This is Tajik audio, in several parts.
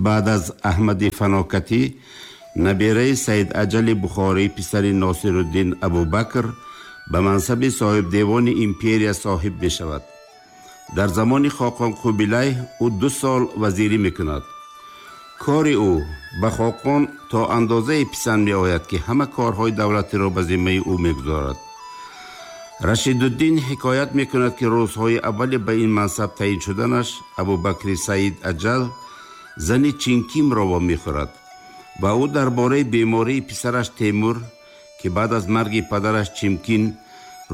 Баъд аз Аҳмади Фанокатӣ, набераи Саид Аҷали Бухорӣ, писари Носируддин Абубакр ба мансаби соҳибдевони империя соҳиб мешавад. Дар замони Хоқон Қубилай ӯ 2 сол вазирӣ мекунад. Кори ӯ ба Хоқон то андозае писанд меояд, ки ҳама корҳои давлатиро ба зиммаи ӯ мегузорад. Рашидуддин ҳикоят мекунад, ки рӯзҳои аввали ба ин мансаб таъин шуданаш Абубакри Саид Аҷал зани Чинкимро вомехӯрад ва ӯ дар бораи бемории писараш Темур, ки баъд аз марги падараш Чимкин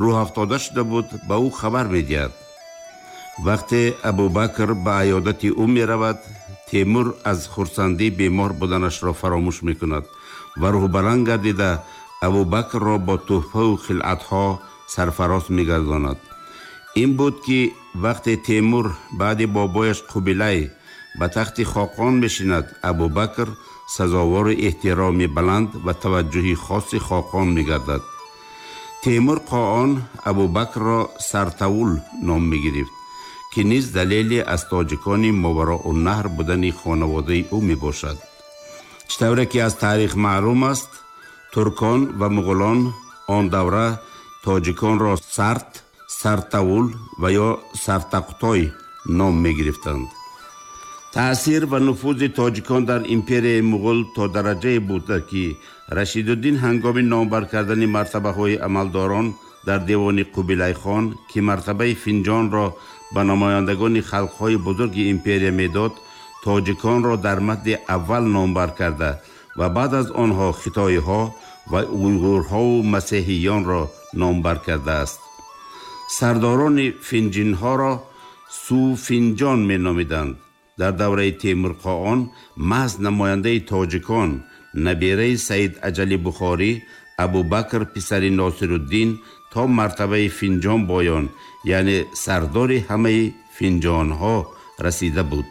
рӯҳафтода шуда буд, ба ӯ хабар медиҳад. Вақте Абубакр ба аёдати ӯ меравад, Темур аз хурсандӣ бемор буданашро фаромӯш мекунад ва рӯҳбаланд гардида Абубакрро бо тӯҳфаву хилъатҳо сарфароз мегардонад. Ин буд, ки вақте Темур баъди бобояш Қубилай ба тахти Хоқон мешинад, Абубакр сазовори эҳтироми баланд ва таваҷҷӯҳи хоси Хоқон мегардад. Темур Қоон Абубакрро Сартавул ном мегирифт, ки низ далеле аз тоҷикони Мовароуннаҳр будани хонаводаи ӯ мебошад. Чӣ тавре ки аз таърих маълум аст, туркон ва муғулон он давра тоҷиконро Сарт, Сартавул ва ё Сартақтой ном мегирифтанд. Таъсир ва нуфузи тоҷикон дар империяи муғул то дараҷае буда, ки Рашидуддин ҳангоми номбар кардани мартабаҳои амалдорон дар девони Қубилайхон, ки мартабаи финҷонро ба намояндагони халқҳои бузурги империя медод, тоҷиконро дар мадди аввал номбар карда ва баъд аз онҳо хитоиҳо ва уйғурҳову масеҳиёнро номбар кардааст. Сардорони финҷинҳоро Суфинҷон меномиданд. Дар давраи Темур Қоон маҳз намояндаи тоҷикон, набераи Саид Аҷали Бухорӣ, Абубакр писари Носируддин то мартабаи финҷон боён, яъне сардори ҳамаи финҷонҳо расида буд.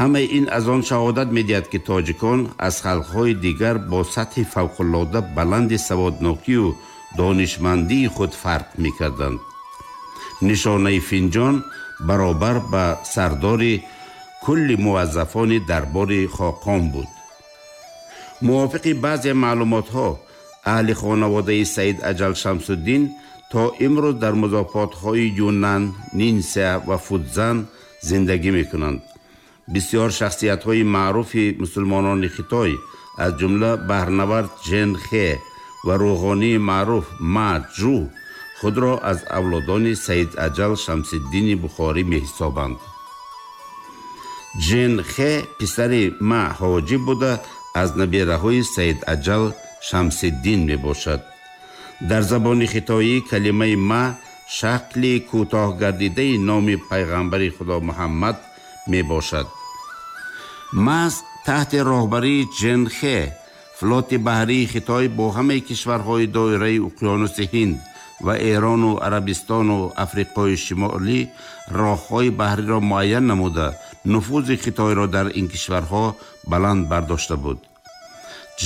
Ҳамаи ин аз он шаҳодат медиҳад, ки тоҷикон аз халқҳои дигар бо сатҳи фавқулода баланди саводнокию донишмандии худ фарқ мекарданд. Нишонаи финҷон баробар ба сардори кулли муваззафони дарбори Хоқон буд. Мувофиқи баъзе маълумотҳо, аҳли хонаводаи Саид Аҷал Шамсуддин то имрӯз дар музофотҳои Юнан, Нинся ва Фудзан зиндагӣ мекунанд. Бисёр шахсиятҳои маъруфи мусулмонони Хитой, аз ҷумла баҳрнавард Жен Хе ва рӯғонии маъруф Ма Ҷу, худро аз авлодони Саид Аҷал Шамсиддини Бухорӣ меҳисобанд. Жен Хе писари Ма Ҳоҷӣ буда, аз набераҳои Саид Аҷал Шамсиддин мебошад. Дар забони хитоӣ калимаи ма шакли кӯтоҳ гардидаи номи пайғамбари Худо Муҳаммад мебошад. Маҳз таҳти роҳбарии Жен Хе флоти баҳрии Хитой бо ҳамаи кишварҳои доираи уқёнуси Ҳинд ва Эрону Арабистону Африқои Шимолӣ роҳҳои баҳриро муайян намуда, нуфузи Хитойро дар ин кишварҳо баланд бардошта буд.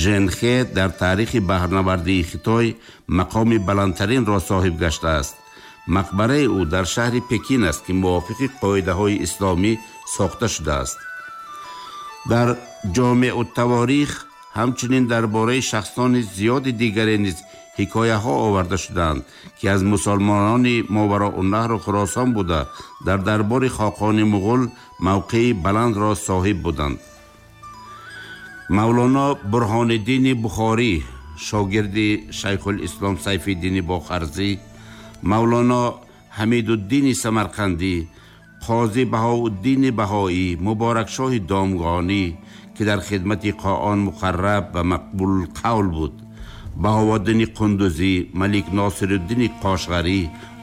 Жен Хе дар таърихи баҳрнавардии Хитой мақоми баландтаринро соҳиб гаштааст. Мақбараи ӯ дар шаҳри Пекин аст, ки мувофиқи қоидаҳои исломӣ сохта шудааст. Дар Ҷомеъуттаворих ҳамчунин дар бораи шахсони зиёди дигаре низ ҳикояҳо оварда шудаанд, ки аз мусулмонони Мовароуннаҳру Хуросон буда, дар дарбори Хоқони муғул мавқеи баландро соҳиб буданд. Мавлоно Бурҳониддини Бухорӣ, шогирди Шайхулислом Сайфиддини Бохарзӣ, Мавлоно Ҳамидуддини Самарқандӣ, Қози Баҳоуддини Баҳоӣ, Муборакшоҳи Домғонӣ, ки дар хидмати Қоон муқарраб ва мақбулқавл буд, Баҳовуддини Қундузӣ, Малик Носируддини Қошғарӣ,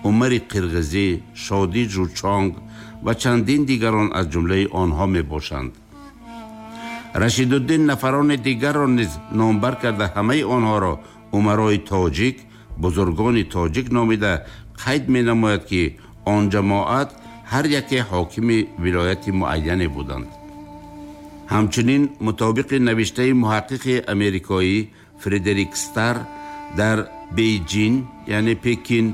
Умари Қирғизӣ, Шодӣ Жучонг ва чандин дигарон аз ҷумлаи онҳо мебошанд. Рашидуддин нафарони дигарро низ номбар карда, ҳамаи онҳоро умарои тоҷик, бузургони тоҷик номида қайд менамояд, ки он ҷамоат ҳар яке ҳокими вилояти муайяне буданд. Ҳамчунин мутобиқи навиштаи муҳаққиқи америкоӣ Фредерик Стар, дар Бейҷин, яъне Пекин,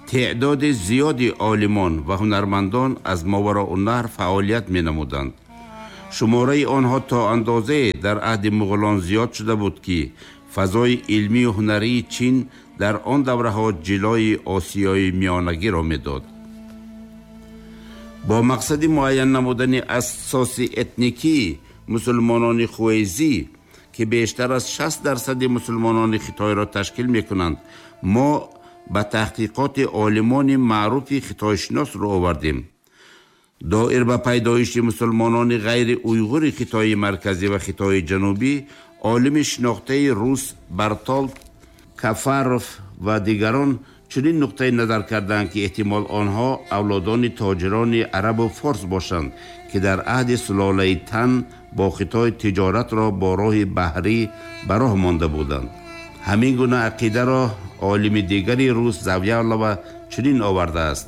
теъдоди зиёди олимон ва ҳунармандон аз Мовароуннаҳр фаъолият менамуданд. Шумораи онҳо то андозае дар аҳди муғулон зиёд шуда буд, ки фазои илмию ҳунарии Чин дар он давраҳо ҷилои Осиёи Миёнагиро медод. Бо мақсади муайян намудани асоси этникии мусулмонони хуэйзӣ, ки бештар аз 60% мусулмонони Хитойро ташкил мекунанд, мо ба таҳқиқоти олимони маъруфи хитойшинос рӯ овардем. Доир ба пайдоиши мусулмонони ғайри уйғури Хитои Марказӣ ва Хитои Ҷанубӣ, олими шинохтаи рус Бартолд Кафаров ва дигарон чунин нуқтаи назар карданд, ки эҳтимол онҳо авлодони тоҷирони арабу форс бошанд, ки дар аҳди сулолаи Тан бо Хитой тиҷоратро бо роҳи баҳрӣ ба роҳ монда буданд. Ҳамин гуна ақидаро олими дигари рус Завялова чунин овардааст: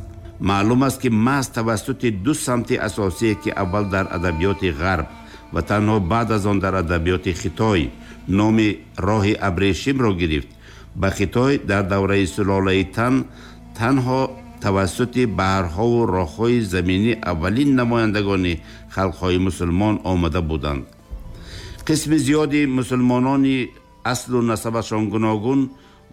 маълум аст, ки маҳз тавассути ду самти асосие, ки аввал дар адабиёти Ғарб ва танҳо баъд аз он дар адабиёти Хитой номи роҳи абрешимро гирифт, ба Хитой дар давраи сулолаи Тан танҳо тавассути баҳрҳову роҳҳои заминӣ аввалин намояндагони халқҳои мусулмон омада буданд. Қисми зиёди мусулмонони аслу насабашон гуногун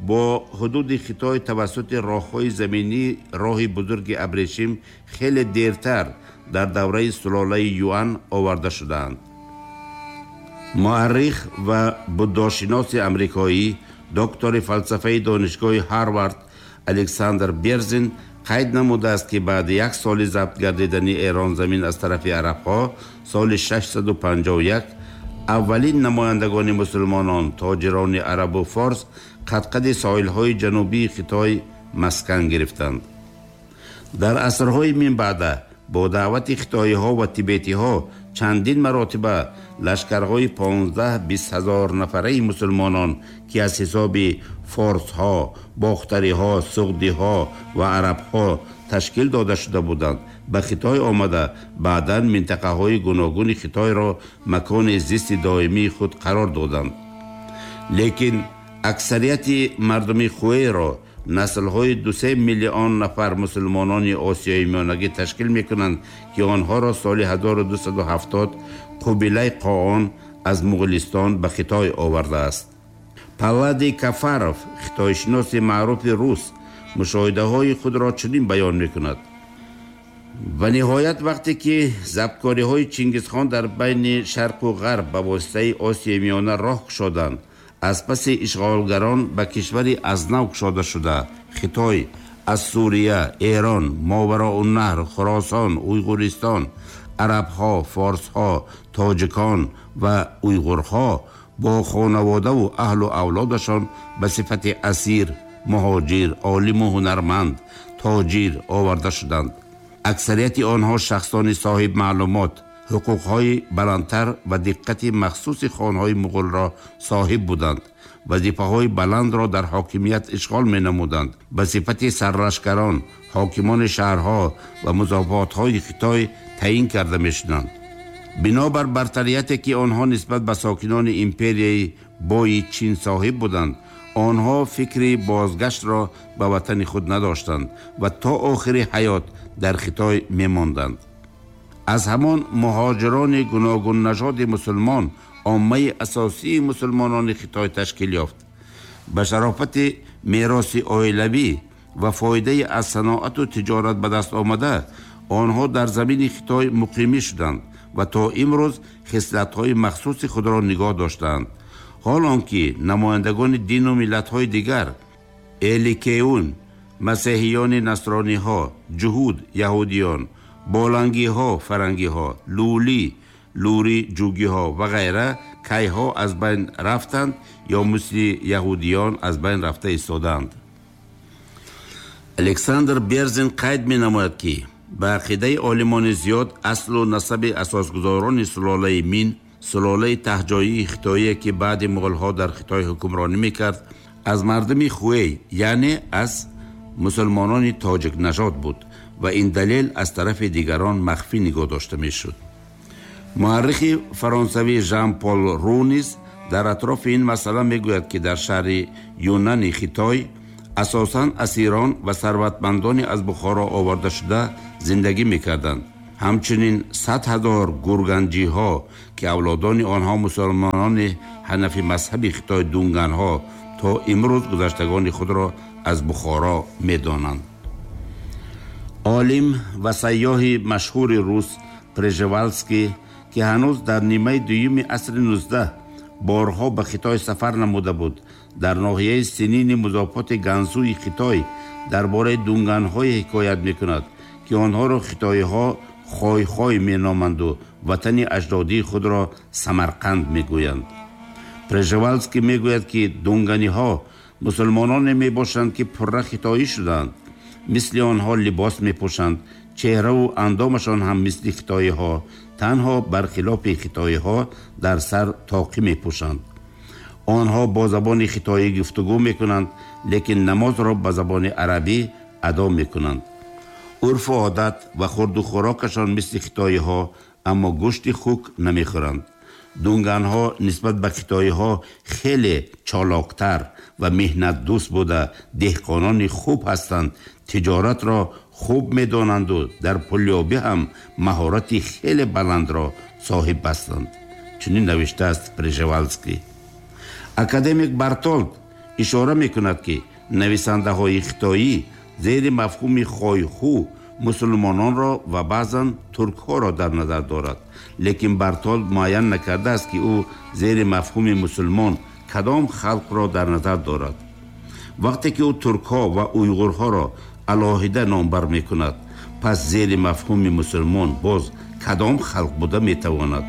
бо ҳудуди Хитой тавассути роҳҳои заминӣ, роҳи бузурги абрешим, хеле дертар дар давраи сулолаи Юан оварда шудаанд. Муаррих ва буддошиноси амрикоӣ, доктори фалсафаи Донишгоҳи Ҳарвард Александр Берзин қайд намудааст, ки баъди як соли забт гардидани Эронзамин аз тарафи арабҳо, соли 651, аввалин намояндагони мусулмонон, тоҷирони арабу форс, қадқади соҳилҳои ҷанубии Хитой маскан гирифтанд. Дар асрҳои минбаъда бо даъвати хитоиҳо ва тибетиҳо чандин маротиба лашкарҳои 15-20 ҳазор нафараи мусулмонон, ки аз ҳисоби форсҳо, бохтариҳо, суғдиҳо ва арабҳо ташкил дода шуда буданд, ба Хитой омада, баъдан минтақаҳои гуногуни Хитойро макони зисти доимии худ қарор доданд. Лекин аксарияти мардуми Хуэйро наслҳои 2-3 миллион нафар мусулмонони Осиёи Миёнагӣ ташкил мекунанд, ки онҳоро соли 1270 Қубилай Қоон аз Муғулистон ба Хитой овардааст. Паллади Кафаров, хитойшиноси маъруфи рус, мушоҳидаҳои худро чунин баён мекунад: ва ниҳоят, вақте ки забткориҳои Чингизхон дар байни Шарқу Ғарб ба воситаи Осиёи Миёна роҳ кушоданд, аз паси ишғолгарон ба кишвари аз нав кушода шуда Хитой аз Сурия, Эрон, Мовароуннаҳр, Хуросон, Уйғуристон арабҳо, форсҳо, тоҷикон ва уйғурҳо бо хонаводаву аҳлу авлодашон ба сифати асир, муҳоҷир, олиму ҳунарманд, тоҷир оварда шуданд. Аксарияти онҳо шахсони соҳибмаълумот, ҳуқуқҳои баландтар ва диққати махсуси хонҳои муғулро соҳиб буданд, вазифаҳои баландро дар ҳокимият ишғол менамуданд, ба сифати сарлашкарон, ҳокимони шаҳрҳо ва музофотҳои Хитой таъин карда мешуданд. Бинобар бартарияте, ки онҳо нисбат ба сокинони империяи бои Чин соҳиб буданд, онҳо фикри бозгаштро ба ватани худ надоштанд ва то охири ҳаёт дар Хитой мемонданд. Аз ҳамон муҳоҷирони гуногуннажоди мусулмон оммаи асосии мусулмонони Хитой ташкил ёфт. Ба шарофати мероси оилавӣ ва фоидаи аз саноату тиҷорат ба даст омада, онҳо дар замини Хитой муқимӣ шуданд ва то имрӯз хислатҳои махсуси худро нигоҳ доштаанд. Ҳол он ки намояндагони дину миллатҳои дигар, эликеун, масеҳиёни насрониҳо, ҷуҳуд, яҳудиён, болангиҳо, фарангиҳо, лулӣ, лури, ҷугиҳо ва ғайра кайҳо аз байн рафтанд ё мисли яҳудиён аз байн рафта истодаанд. Александр Берзин қайд менамояд, ки ба ақидаи олимони зиёд аслу насаби асосгузорони сулолаи Мин, сулолаи таҳҷоии хитоие, ки баъди муғулҳо дар Хитой ҳукмронӣ мекард, аз мардуми Хуэй, яъне аз мусулмонони тоҷикнажод буд ва ин далел аз тарафи дигарон махфӣ нигоҳ дошта мешуд. Муаррихи фаронсавӣ Жан Пол Ру низ дар атрофи ин масъала мегӯяд, ки дар шаҳри Юнани Хитой асосан асирон ва сарватмандони аз Бухоро оварда шуда зиндагӣ мекарданд. Ҳамчунин 100,000 гурганҷиҳо, ки авлодони онҳо мусулмонони ҳанафи мазҳаби Хитой дунганҳо то имрӯз гузаштагони худро аз Бухоро медонанд. Олим ва сайёҳи машҳури рус Пржевалский, ки ҳанӯз дар нимаи дуюми асри 19 борҳо ба Хитой сафар намуда буд, дар ноҳияи Синини музофоти Гансуи Хитой дар бораи дунганҳое ҳикоят мекунад, ки онҳоро хитоиҳо хойхой меноманду ватани аҷдодии худро Самарқанд мегӯянд. Пржевалский мегӯяд, ки дунганиҳо мусулмононе мебошанд, ки пурра хитоӣ шуданд. Мисли онҳо либос мепӯшанд, чеҳраву андомашон ҳам мисли хитоиҳо, танҳо бархилофи хитоиҳо дар сар тоқӣ мепӯшанд. Онҳо бо забони хитоӣ гуфтугӯ мекунанд, лекин намозро ба забони арабӣ адо мекунанд. Урфу одат ва хурду хӯрокашон мисли хитоиҳо, аммо гӯшти хук намехӯранд. Дунганҳо нисбат ба хитоиҳо хеле чолоктар ва меҳнатдӯст буда, деҳқонони хуб ҳастанд, тиҷоратро хуб медонанду дар пулёбӣ ҳам маҳорати хеле баландро соҳиб ҳастанд. Чунин навиштааст Пржевалский. Академик Бартолд ишора мекунад, ки нависандаҳои хитоӣ зери мафҳуми хойхӯ мусулмононро ва баъзан туркҳоро дар назар дорад, лекин Бартолд муайян накардааст, ки ӯ зери мафҳуми мусулмон кадом халқро дар назар дорад. Вақте ки ӯ туркҳо ва уйғурҳоро алоҳида номбар мекунад, пас зери мафҳуми мусулмон боз кадом халқ буда метавонад?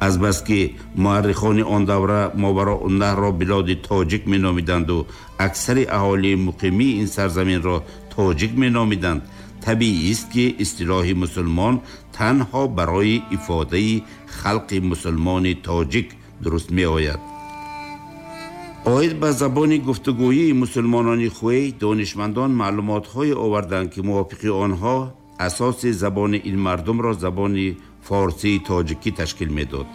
Азбаски муаррихони он давра Мовароуннаҳрро билоди тоҷик меномиданду аксари аҳолии муқимии ин сарзаминро тоҷик меномиданд, табиист, ки истилоҳи мусулмон танҳо барои ифодаи халқи мусулмони тоҷик дуруст меояд. Оид ба забони гуфтугӯии мусулмонони Хуэй донишмандон маълумотҳое оварданд, ки мувофиқи онҳо асоси забони ин мардумро забони форсии тоҷикӣ ташкил медод.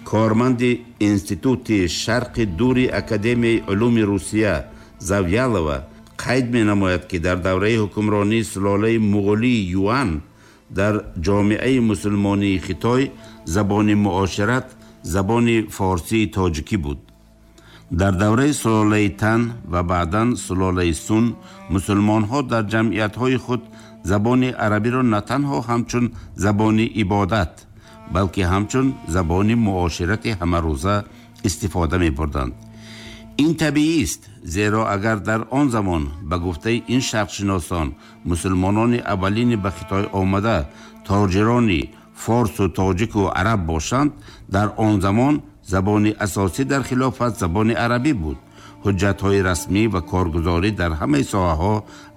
Корманди Институти Шарқи Дури Академияи улуми Русия Завялова қайд менамояд, ки дар давраи ҳукмронии сулолаи муғулии Юан дар ҷомеаи мусулмонии Хитой забони муошират забони форсии тоҷикӣ буд. Дар давраи сулолаи Тан ва баъдан сулолаи Сун мусулмонҳо дар ҷамъиятҳои худ забони арабиро на танҳо ҳамчун забони ибодат, балки ҳамчун забони муоширати ҳамарӯза истифода мебурданд. Ин табиист, зеро агар дар он замон ба гуфтаи ин шарқшиносон мусулмонони аввалини ба Хитой омада тоҷирони форсу тоҷику араб бошанд, дар он замон забони асосӣ дар хилофат забони арабӣ буд. Ҳуҷҷатҳои расмӣ ва коргузорӣ дар ҳамаи соҳаҳо,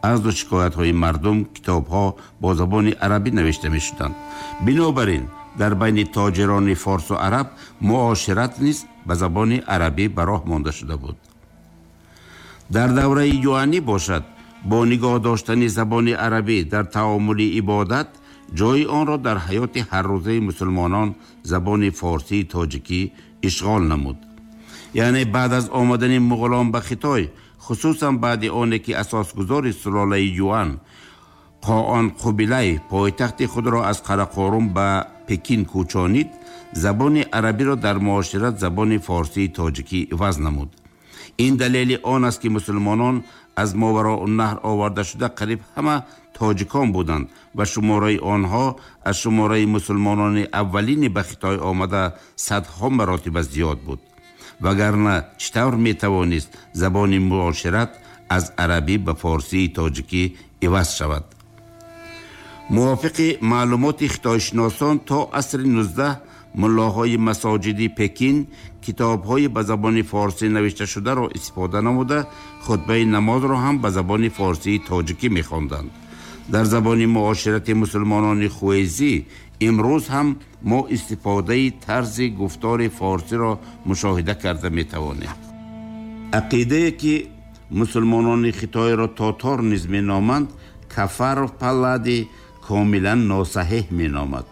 арзу шикоятҳои мардум, китобҳо бо забони арабӣ навишта мешуданд. Бинобар ин дар байни тоҷирони форсу араб муошират низ ба забони арабӣ ба роҳ монда шуда буд. Дар давраи юанӣ бошад, бо нигоҳ доштани забони арабӣ дар таомули ибодат, ҷои онро дар ҳаёти ҳаррӯзаи мусулмонон забони форсии тоҷикӣ ишғол намуд. Яъне баъд аз омадани муғулон ба Хитой, хусусан баъди оне ки асосгузори сулолаи Юан Қоон Қубилай пойтахти худро аз Қарақорум ба Пекин кӯчонид, забони арабиро дар муошират забони форсии тоҷикӣ иваз намуд. Ин далели он аст, ки мусулмонон аз Мовароуннаҳр оварда шуда қариб ҳама тоҷикон буданд ва шумораи онҳо аз шумораи мусулмонони аввалини ба Хитой омада садҳо маротиба зиёд буд. Вагарна чӣ тавр метавонист забони муошират аз арабӣ ба форсии тоҷикӣ иваз шавад? Мувофиқи маълумоти хитойшиносон, то асри 19 муллоҳои масоҷиди Пекин китобҳои ба забони форсӣ навишташударо истифода намуда, хутбаи намозро ҳам ба забони форсии тоҷикӣ мехонданд. Дар забони муоширати мусулмонони хуэйзӣ имрӯз ҳам мо истифодаи тарзи гуфтори форсиро мушоҳида карда метавонем. Ақидае, ки мусулмонони Хитойро тотор низ меноманд, Кафаров Паллади комилан носаҳеҳ меномад.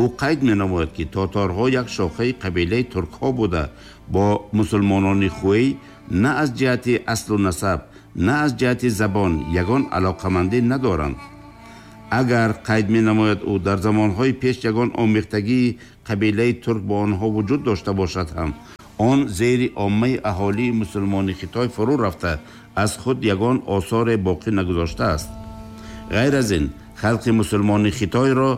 Ӯ қайд менамояд, ки тоторҳо як шохаи қабилаи туркҳо буда, бо мусулмонони хуэй на аз ҷиҳати аслу насаб, на аз ҷиҳати забон ягон алоқамандӣ надоранд. Агар, қайд менамояд ӯ, дар замонҳои пеш ягон омехтагии қабилаи турк бо онҳо вуҷуд дошта бошад ҳам, он зери оммаи аҳолии мусулмони Хитой фурӯ рафта, аз худ ягон осоре боқӣ нагузоштааст. Ғайр аз ин, халқи мусулмони Хитойро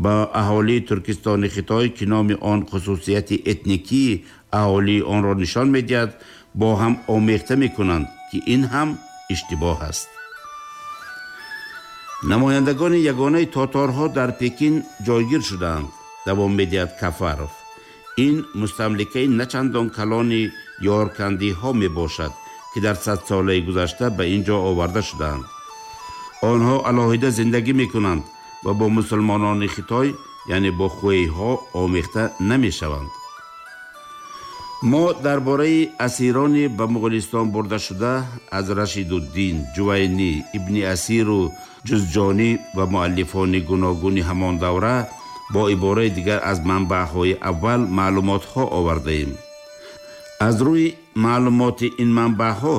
ба аҳолии Туркистони Хитой, ки номи он хусусияти этникии аҳолии онро нишон медиҳад, бо ҳам омехта мекунанд, ки ин ҳам иштибоҳ аст. Намояндагони ягонаи тоторҳо дар Пекин ҷойгир шудаанд, давом медиҳад Кафаров. Ин мустамликаи начандон калони ёркандиҳо мебошад, ки дар садсолаи гузашта ба ин ҷо оварда шудаанд. Онҳо алоҳида зиндагӣ мекунанд ва бо мусулмонони Хитой, яъне бо хуэйҳо, омехта намешаванд. Мо дар бораи асирони ба Муғулистон бурдашуда аз Рашидуддин, Ҷувайнӣ, Ибни Асиру Ҷузҷонӣ ва муаллифони гуногуни ҳамон давра, бо ибораи дигар аз манбаъҳои аввал маълумотҳо овардаем. Аз рӯи маълумоти ин манбаъҳо,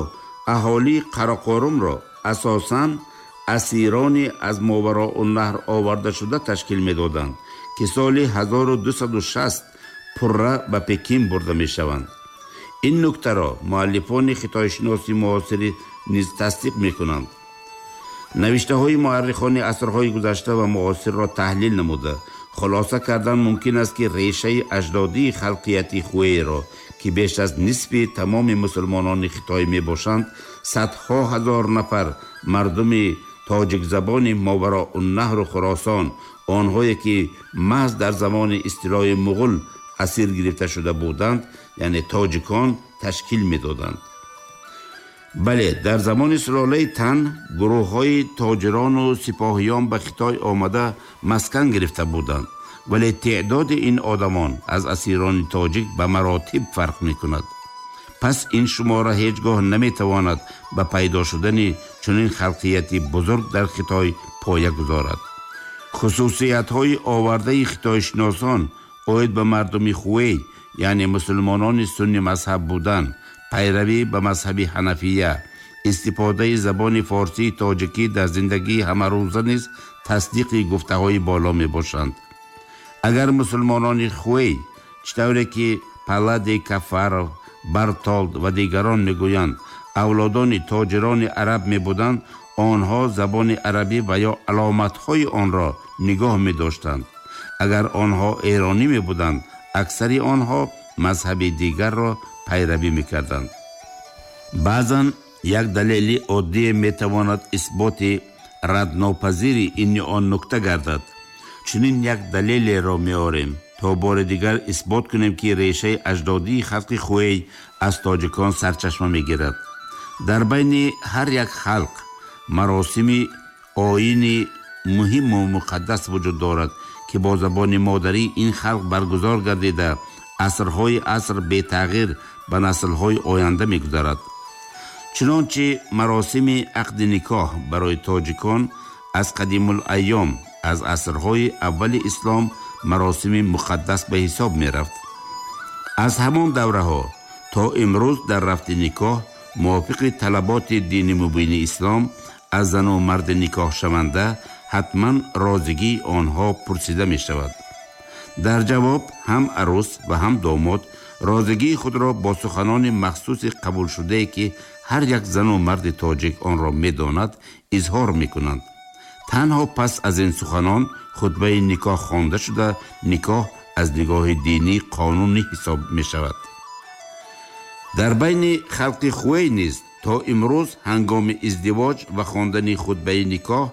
аҳолии Қарақорумро асосан асирони аз Мовароуннаҳр овардашуда ташкил медоданд, ки соли 1260 пурра ба Пекин бурда мешаванд. Ин нуктаро муаллифони хитойшиноси муосирӣ низ тасдиқ мекунанд. Навиштаҳои муаррихони асрҳои гузашта ва муосирро таҳлил намуда, хулоса кардан мумкин аст, ки решаи аҷдодии халқияти хуэйро, ки беш аз нисфи тамоми мусулмонони Хитой мебошанд, садҳо ҳазор нафар мардуми тоҷикзабони Мовароуннаҳру Хуросон, онҳое ки маҳз дар замони истилои муғул асир гирифта шуда буданд, яъне тоҷикон, ташкил медоданд. Бале, дар замони сулолаи Тан гурӯҳҳои тоҷирону сипоҳиён ба Хитой омада маскан гирифта буданд, вале теъдоди ин одамон аз асирони тоҷик ба маротиб фарқ мекунад. Пас ин шумора ҳеҷ гоҳ наметавонад ба пайдо шудани чунин халқияти бузург дар Хитой поя гузорад. Хусусиятҳои овардаи хитойшиносон оид ба мардуми хуэй, яъне мусулмонони сунни мазҳаб будан, пайравӣ ба мазҳаби ҳанафия, истифодаи забони форсии тоҷикӣ дар зиндагии ҳамарӯза низ тасдиқи гуфтаҳои боло мебошанд. Агар мусулмонони хуэй, чӣ тавре ки Паллади, Кафаров, Бартолд ва дигарон мегӯянд, авлодони тоҷирони араб мебуданд, онҳо забони арабӣ ва ё аломатҳои онро нигоҳ медоштанд. Агар онҳо эронӣ мебуданд, аксари онҳо мазҳаби дигарро пайравӣ мекарданд. Баъзан як далели оддие метавонад исботи раднопазири ини он нукта гардад. Чунин як далелеро меорем, то бори дигар исбот кунем, ки решаи аҷдодии халқи хуэй аз тоҷикон сарчашма мегирад. Дар байни ҳар як халқ маросими оини муҳиму муқаддас вуҷуд дорад, ки бо забони модарӣ ин халқ баргузор гардида, асрҳои аср бетағйир ба наслҳои оянда мегузарад. Чунончи маросими ақди никоҳ барои тоҷикон аз қадимулайём, аз асрҳои аввали ислом, маросими муқаддас ба ҳисоб мерафт. Аз ҳамон давраҳо то имрӯз дар рафти никоҳ мувофиқи талаботи дини мубини ислом аз зану марди никоҳшаванда ҳатман розигии онҳо пурсида мешавад. Дар ҷавоб ҳам арӯс ва ҳам домод розигии худро бо суханони махсуси қабулшудае, ки ҳар як зану марди тоҷик онро медонад, изҳор мекунанд. Танҳо пас аз ин суханон хутбаи никоҳ хонда шуда, никоҳ аз нигоҳи динӣ қонунӣ ҳисоб мешавад. Дар байни халқи хуэй низ то имрӯз ҳангоми издивоҷ ва хондани хутбаи никоҳ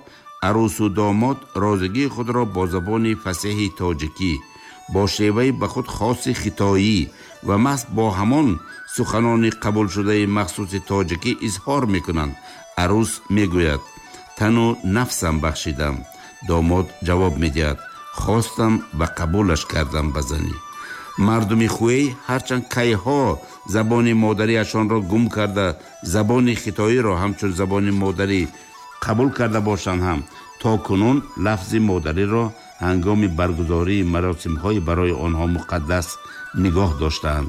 арӯсу домод розигии худро бо забони фасеҳи тоҷикӣ, бо шеваи ба худ хоси хитоӣ ва маҳз бо ҳамон суханони қабулшудаи махсуси тоҷикӣ изҳор мекунанд. Арӯс мегӯяд: «Тану нафсам бахшидам». Домод ҷавоб медиҳад: «Хостам ва қабулаш кардам ба занӣ». Мардуми хуэй ҳарчанд кайҳо забони модариашонро гум карда, забони хитоиро ҳамчун забони модарӣ қабул карда бошанд ҳам, то кунун лафзи модариро ҳангоми баргузории маросимҳои барои онҳо муқаддас нигоҳ доштаанд.